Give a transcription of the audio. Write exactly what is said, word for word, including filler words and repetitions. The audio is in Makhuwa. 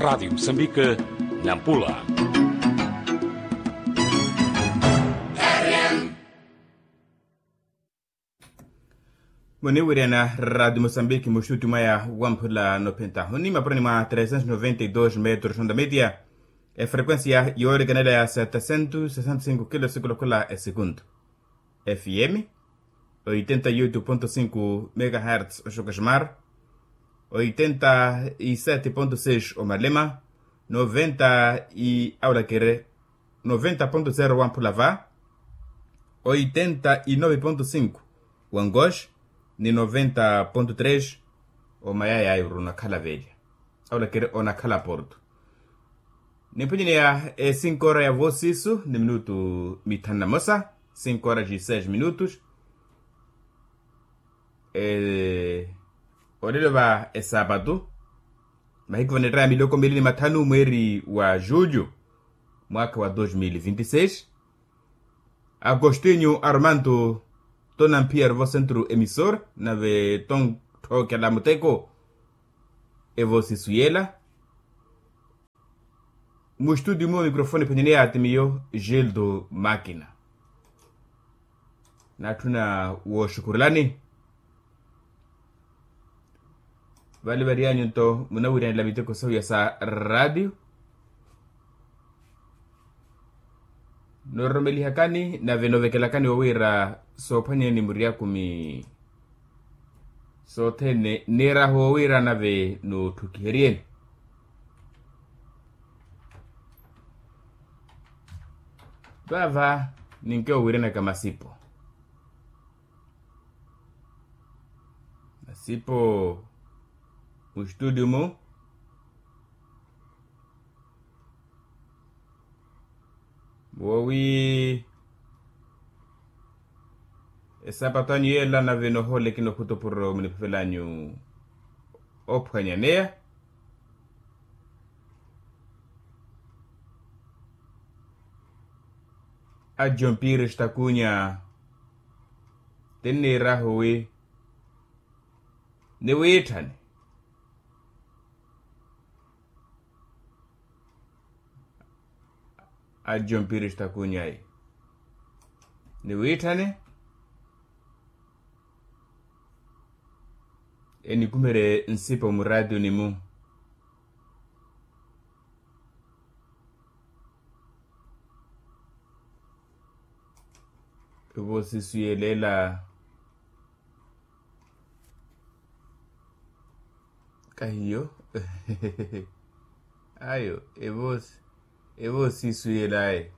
Radiyo musambike, nampula. Muniwiriyana radiyo musambike muxuti mwaya wamphula nophentahu ni mapurani mwa tresentos noventa y dos metros ondametia, efrequencia yoorekanela ya setesentos sesenta y cinco kilo sikula khula esekunto. F M, oitenta y oito ponto cinco megahertz oxokaximar, oitenta y sete ponto seis omalema, noventa y aulakere noventa ponto zero wamphula va, oitenta y nove ponto cinco wangox, ni noventa ponto tres omayaya ayo runakhala velya, aulakere onakhala porto. Niphwenyeneya e cinco hora ya voosisu ni minutu mithanu na mosa, cinco horas e seis minutos. Olelo va esapatu, mahiku vanettaya miloko mili ni mathanu mweeri wa julho, mwaakha wa dos mil vinti seis. Agostinho armando, tonamphiya vo centro emissor nave tontthokela muteko. Evoosisu yela. Muxtuti mu microfone phwenyeneya ti miyo gildo makina. Natthuna wooxukhurelani. Vale varyanyu nto munawiryanela miteko sahuya sa radiyo. Nooromelihakani nave novekelakani wowira soophwanyeni muryaku mi sothene nirahu wowira nave nootthukiheryeni. Vava ninke owiranaka masipo masipo muxtuti mu woowi esapatu anyu yeela nave nohoolekina okhutupuro muniphavelanyu ophwanyaneya. Ajompiri stakunya tinniirahu wi niwiitthane. Ajompiri stakunya niwiitthane. Enikumerye nsipa muraatiyuni-mu. Evoosisu yelela kahiyo. Ayo evoosisu yelaye.